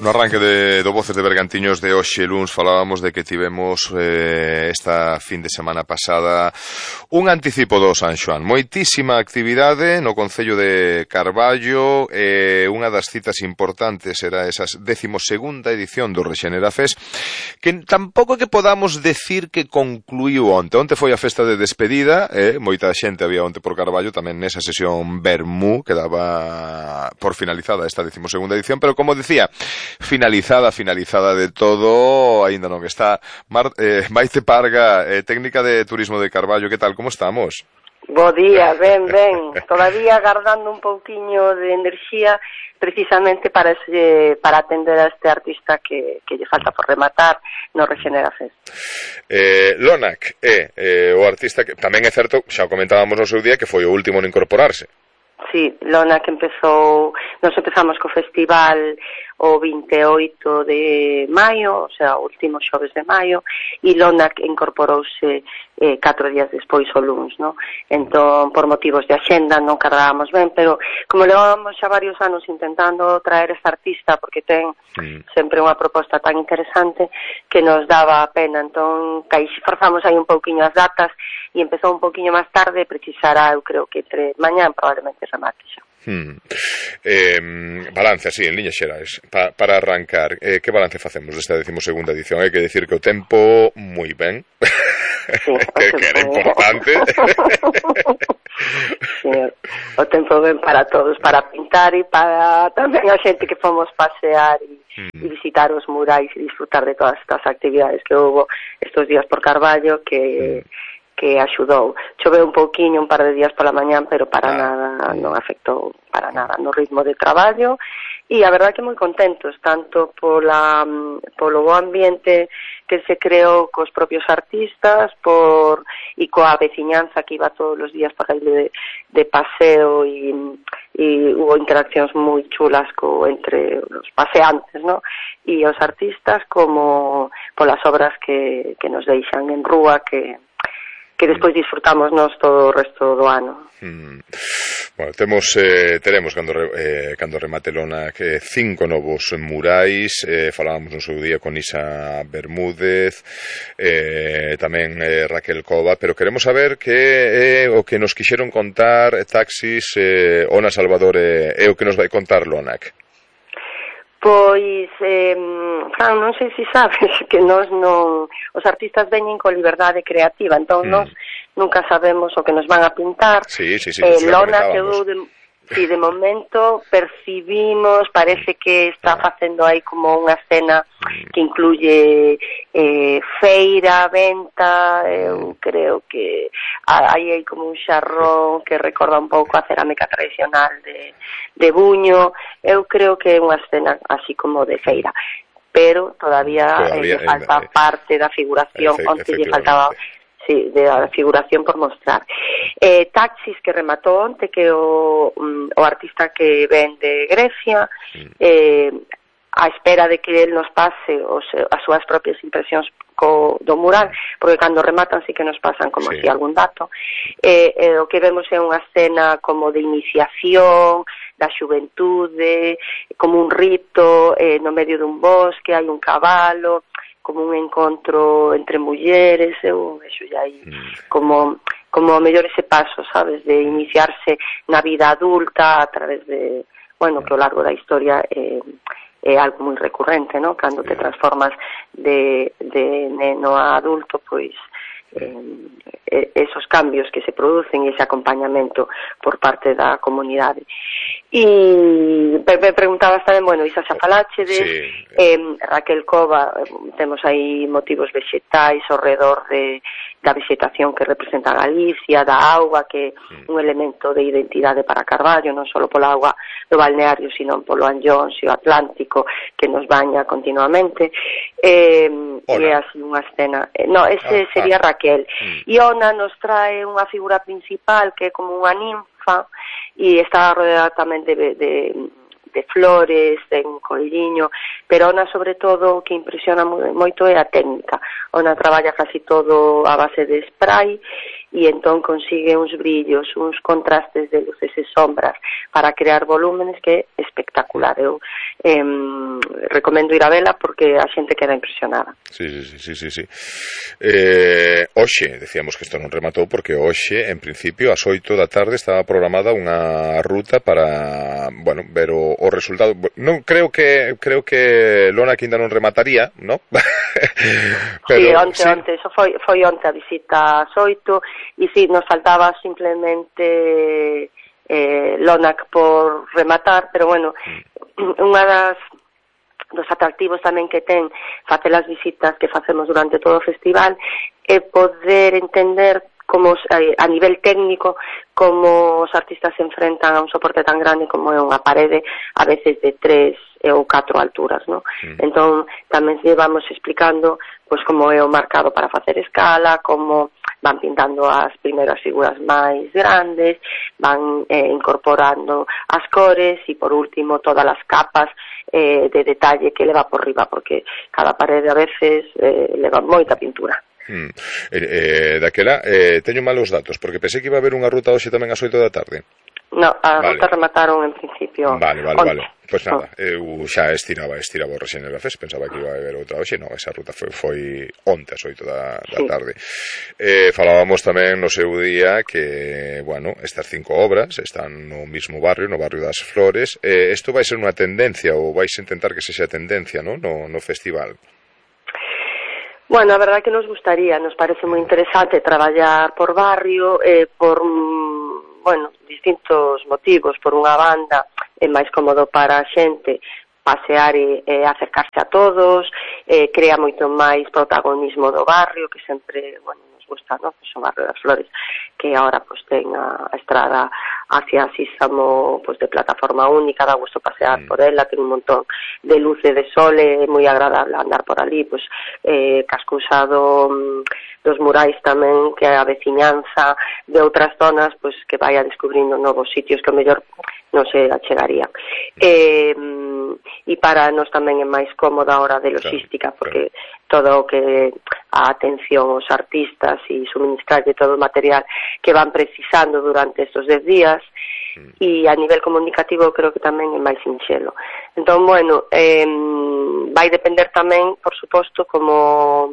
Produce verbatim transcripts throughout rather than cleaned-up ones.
No arranque de, do Voces de Bergantiños de hoxe luns falábamos de que tivemos eh, esta fin de semana pasada un anticipo do San Xoán. Moitísima actividade no concello de Carballo, eh, unha das citas importantes era esa décimo segunda edición do Rexenera Fest, que tampouco que podamos decir que concluiu onte. Onte foi a festa de despedida, eh, moita xente había onte por Carballo, tamén nesa sesión Bermú, que daba por finalizada esta décimo segunda edición, pero como decía, finalizada, finalizada de todo, aínda non está. Mar, eh, Maite Parga, eh, técnica de turismo de Carballo, que tal, como estamos? Bo día, ben, ben, todavía agardando un pouquiño de enerxía precisamente para ese, para atender a este artista que, que lle falta por rematar no Rexenera Fest. Eh, Lonac é eh, o artista que tamén é certo, xa o comentábamos no seu día, que foi o último en incorporarse. Sí, Lonac empezou, nos empezamos co festival o vinte e oito de maio, o sea, o último xoves de maio, e Lonac incorporouse eh, catro días despois o luns, no? Entón, por motivos de axenda non cardábamos ben, pero como levamos xa varios anos intentando traer esta artista, porque ten mm. sempre unha proposta tan interesante que nos daba a pena, entón, caixi, forzamos aí un pouquiño as datas e empezou un pouquiño máis tarde, precisará, eu creo que entre mañán probablemente remate xa. Hmm. Eh, balance así, en liñas xerais, pa, para arrancar, eh, que balance facemos desta décimo segunda edición? Hai que decir que o tempo moi ben, sí, que, que era importante. Sí, o tempo ben para todos, para pintar e para tamén a xente que fomos pasear e, hmm. e visitar os murais e disfrutar de todas estas actividades que houve estes días por Carballo que... Hmm. que axudou. Choveu un pouquiño un par de días pola mañán, pero para ah. nada, non afectou para nada no ritmo de traballo, e a verdade que moi contentos, tanto pola, polo bo ambiente que se creou cos propios artistas, por e coa veciñanza que iba todos os días para ir de, de paseo, e, e hubo interaccións moi chulas co, entre os paseantes, ¿no? E os artistas, como polas obras que, que nos deixan en rúa, que que despois disfrutamos nós todo o resto do ano. Mm. Bueno, temos, eh, teremos cando, eh, cando remate Lonac eh, cinco novos murais, eh, falábamos no seu día con Isa Bermúdez, eh, tamén eh, Raquel Cova, pero queremos saber que é eh, o que nos quixeron contar Taxis, eh, Ona Salvador é eh, o que nos vai contar Lonac. Pois, eh, Fran, non sei se sabes que nós non, os artistas veñen con liberdade creativa, entón mm. nós nunca sabemos o que nos van a pintar. Sí, sí, sí, eh, Lona quedou de, sí, de momento percibimos, parece que está facendo aí como unha escena que incluye eh, feira, venta, eu creo que aí hai como un xarrón que recorda un pouco a cerámica tradicional de, de Buño. Eu creo que é unha escena así como de feira, pero todavía, todavía eh, falta eh, parte da figuración, efe, onte lle faltaba sí, de a figuración por mostrar. Eh, Taxis, que rematou onte, que o, um, o artista que ven de Grecia, mm. eh, a espera de que él nos pase os, as súas propias impresións co, do mural, porque cando rematan sí que nos pasan como sí. si algún dato. Eh, eh, o que vemos é unha escena como de iniciación, da xuventude, como un rito eh, no medio dun bosque, hai un cabalo, como un encontro entre mulleres, eu vexo xa aí mm. como, como mellor ese paso, sabes, de iniciarse na vida adulta a través de, bueno, que ao largo da historia eh, é algo moi recurrente, ¿no? Cando te transformas de, de neno a adulto, pois eh, esos cambios que se producen e ese acompañamento por parte da comunidade. E me preguntabas tamén, bueno, Isa xa falache de sí. eh, Raquel Cova, temos aí motivos vexetais ao redor de, da vegetación que representa Galicia, da auga, que é un elemento de identidade para Carballo, non só pola auga do balneario, sino polo Anllóns e o Atlántico que nos baña continuamente. Eh, e é así unha escena. Eh, no, ese ah, sería ah. Raquel. Mm. E Ona nos trae unha figura principal que é como unha ninfa e está rodeada tamén de, de, de flores, de un colliño, pero Ona sobre todo o que impresiona moito é a técnica. Ona traballa casi todo a base de spray e entón consigue uns brillos, uns contrastes de luces e sombras para crear volúmenes que é espectacular. Eu, eh, recomendo ir a vela porque a xente queda impresionada. Sí, sí, sí, sí, sí. Eh, hoxe, decíamos que isto non rematou porque hoxe, en principio, ás oito da tarde estaba programada unha ruta para, bueno, ver o, o resultado. Non creo que creo que Lona que ainda non remataría, ¿no? Pero, sí, onte, sí. onte, eso foi, foi onte a visita ás oito e si, sí, nos faltaba simplemente eh, Lonac por rematar, pero bueno, unha das dos atractivos tamén que ten facer as visitas que facemos durante todo o festival é poder entender como a nivel técnico como os artistas se enfrentan a un soporte tan grande como é unha parede a veces de tres ou catro alturas, ¿no? Mm. Entón tamén llevamos explicando pois como é o marcado para facer escala, como van pintando as primeiras figuras máis grandes, van eh, incorporando as cores e por último todas as capas eh, de detalle que leva por riba, porque cada parede a veces eh, leva moita pintura. Hmm. Eh, eh, daquela, eh, teño malos datos, porque pensei que iba a haber unha ruta hoxe tamén ás oito da tarde. No, a vale. ruta remataron en principio. Vale, vale, onte. vale. Pois pues nada, oh. eu xa estiraba, estiraba o Rexenera Fest, pensaba que iba a haber outra hoxe, non, esa ruta foi, foi onte ás oito da, da sí. tarde. Eh, falábamos tamén no seu día que, bueno, estas cinco obras están no mismo barrio, no barrio das Flores. Eh, isto vai ser unha tendencia, ou vais intentar que sexa tendencia, ¿no? No, no festival. Bueno, a verdade que nos gustaría, nos parece moi interesante traballar por barrio, eh, por, bueno, distintos motivos. Por unha banda é máis cómodo para a xente pasear e, e acercarse a todos, eh, crea moito máis protagonismo do barrio, que sempre, bueno, nos gusta, ¿no? Pues o barrio das Flores, que agora pues ten a, a estrada hacia Sísamo pues de plataforma única, dá gusto pasear mm. por ela, ten un montón de luz e de sol, é moi agradable andar por ali, pues eh, cascusa do, dos murais tamén, que a veciñanza de outras zonas pues que vai a descubrindo novos sitios que o mellor non se achegaría. Eh, e para nós tamén é máis cómoda a hora de logística, porque todo o que a atención aos artistas e suministrarlle todo o material que van precisando durante estes dez días, e a nivel comunicativo creo que tamén é máis sinxelo. Entón, bueno, eh, vai depender tamén, por suposto, como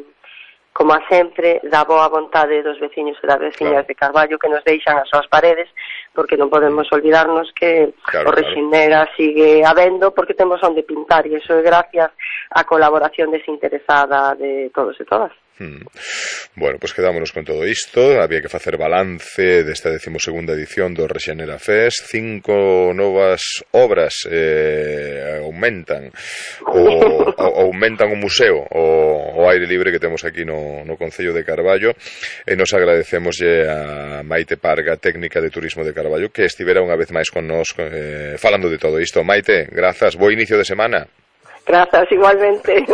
como a sempre, da boa vontade dos veciños e das veciñas claro. de Carballo que nos deixan as súas paredes, porque non podemos olvidarnos que claro, o Rexenera claro. sigue habendo porque temos onde pintar, e iso é gracias á colaboración desinteresada de todos e todas. Hmm. Bueno, pois pues quedámonos con todo isto. Había que facer balance desta decimosegunda edición do Rexenera Fest. Cinco novas obras eh, aumentan o, o aumentan o museo o, o aire libre que temos aquí no, no Concello de Carballo, e nos agradecemoslle a Maite Parga, técnica de turismo de Carballo, que estivera unha vez máis con nos eh, falando de todo isto. Maite, grazas, bo inicio de semana. Grazas, igualmente.